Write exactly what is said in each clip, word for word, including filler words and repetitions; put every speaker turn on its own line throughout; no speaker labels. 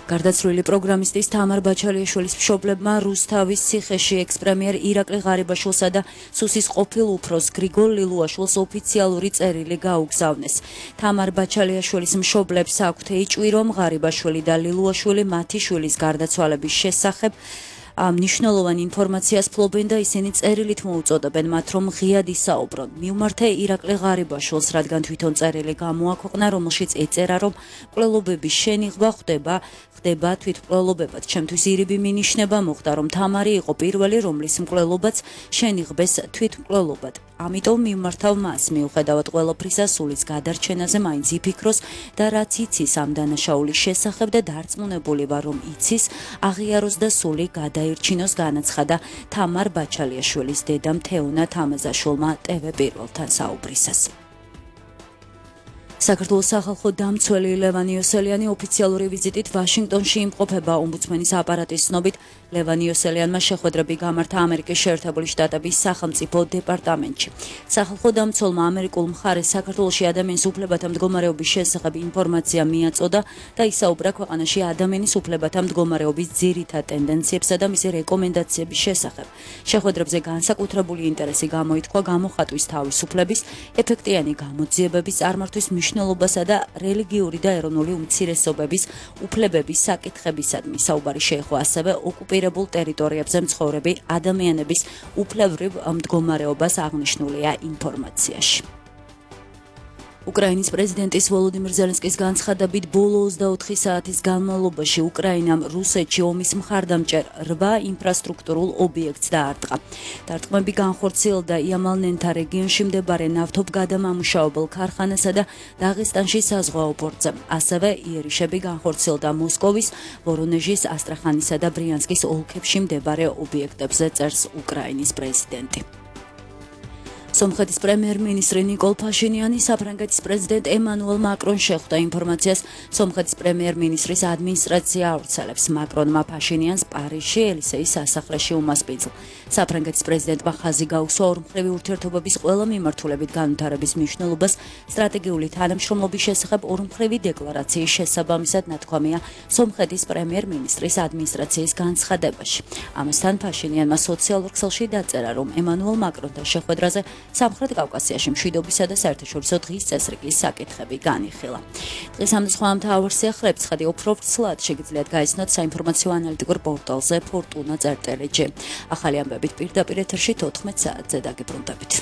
გარდაცვლილი პროგრამისტის თამარ ბაჩალიაშვილის მშობლებმა რუსთავის ციხეში ექს-პრემიერ ირაკლი ღარიბაშვილსა და სუსის ყოფილ უფროს გრიგოლ ლილუაშვილს ოფიციალური წერილი გაუგზავნეს. თამარ ბაჩალიაშვილის მშობლებს აქვთ ეჭვი, რომ ღარიბაშვილი და ლილუაშვილი მათი შვილის გარდაცვალების შესახებ მნიშვნელოვან ინფორმაციას ფლობენ და ისინი წერილით მოუწოდებენ მათ, რომ ღიად ისაუბრონ. მიუმართე ირაკლი ღარიბაშვილს, რადგან თვითონ წერილი გამოაქვეყნა, რომელშიც ეწერა, რომ მკვლელობების შენიღვა ხდება ხდება თვითმკვლელობებად. ჩემთვის ირიბი მინიშნება მოხდა, რომ თამარი იყო პირველი, რომლის მკვლელობაც შენიღბეს თვითმკვლელობად. ამიტომ მიმართავ მას, მიუხედავად ყველაფრისა, სულის გადარჩენაზე მაინც იფიქროს და რაც იცის ამ დანაშაულის შესახებ და დარწმუნებული ვარ, რომ იცის, აღიაროს და სული გადაირჩინოს, განაცხადა თამარ ბაჩალიაშვილის დედამ თეონა თამაზაშვილმა ტევ პირველთან საუბრისას. საქართველოს სახალხო დამცველი ლევან იოსელიანი ოფიციალური ვიზიტით ვაშინგტონში იმყოფება. ომბუდსმენის აპარატის ცნობით, ლევან იოსელიანმა შეხვედრები გამართა ამერიკის შეერთებული შტატების სახელმწიფო დეპარტამენტში. სახალხო დამცველმა ამერიკულ მხარეს საქართველოში ადამიანის უფლებათა მდგომარეობის შესახებ ინფორმაცია მიაწოდა და ისაუბრა ქვეყანაში ადამიანის უფლებათა მდგომარეობის ძირითად ტენდენციებსა და მისი რეკომენდაციების შესახებ. შეხვედრებზე განსაკუთრებული ინტერესი გამოითქვა გამოხატვის თავისუფლების, ეფექტიანი გამოძიებების წარმართვის მნიშვნელობასა და რელიგიური და ეროვნული უმცირესობების უფლებების საკითხებისადმი. საუბარი შეეხო ასევე ოკუპირებულ ტერიტორიებზე მცხოვრები ადამიანების უფლებრივ მდგომარეობას აღნიშნულია ინფორმაციაში. უკრაინის პრეზიდენტის ვოლოდიმირ ზელენსკის განცხადებით, ბოლო ოცდაოთხი საათის განმავლობაში უკრაინამ რუსეთში ომის მხარდამჭერ რვა ინფრასტრუქტურულ ობიექტს დაარტყა. დარტყმები განხორციელდა იამალ-ნენთა რეგიონში მდებარე ნავთობგადამამუშავებელ ქარხანასა და დაღესტანში საზღვაო პორტზე. ასევე იერიშები განხორციელდა მოსკოვის, ვორონეჟის, ასტრახანისა და ბრიანსკის ოლქებში მდებარე ობიექტებზე, წერს უკრაინის პრეზიდენტი. სომხეთის პრემიერ-მინისტრი ნიკოლ ფაშინიანი საფრანგეთის პრეზიდენტ ემანუელ მაკრონს შეხვდა. ინფორმაციას სომხეთის პრემიერ-მინისტრის ადმინისტრაცია ავრცელებს. მაკრონმა ფაშინიანს პარიზში ელისეის სასახლეში უმასპინძლა. საფრანგეთის პრეზიდენტმა ხაზი გაუსვა ორმხრივი ურთიერთობების ყველა მიმართულებით განვითარების მნიშვნელობას სტრატეგიული თანამშრომლობის შესახებ ორმხრივი დეკლარაციის შესაბამისად ნათქვამია სომხეთის პრემიერ-მინისტრის ადმინისტრაციის განცხადებაში. ამასთან ფაშინიანმა სოციალურ ქსელში დაწერა, რომ ემანუელ მაკრონთან შეხვედრაზე სამხრეთ კავკასიაში მშვიდობისა და საერთაშორისო დღის წესრიგის საკითხები განიხილა. დღეს ამ სხვა მთავარ სიახლეებს ხედი უფრო ვრცლად შეგიძლიათ გაიცნოთ საინფორმაციო ანალიტიკურ პორტალზე ფორტუნა წერტილი ჯი. ახალი ამბებით პირდაპირ ეთერში თოთხმეტ საათზე დაგიბრუნდებით.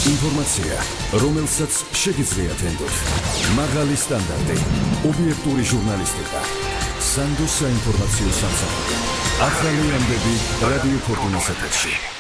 ინფორმაცია, რომელსაც შეგიძლიათ ენდოთ. მაღალი სტანდარტი, ობიექტური ჟურნალისტიკა. სანდოს საინფორმაციო სამსახური. ახალი ამბები რადიო ფორტუნას ეთერში.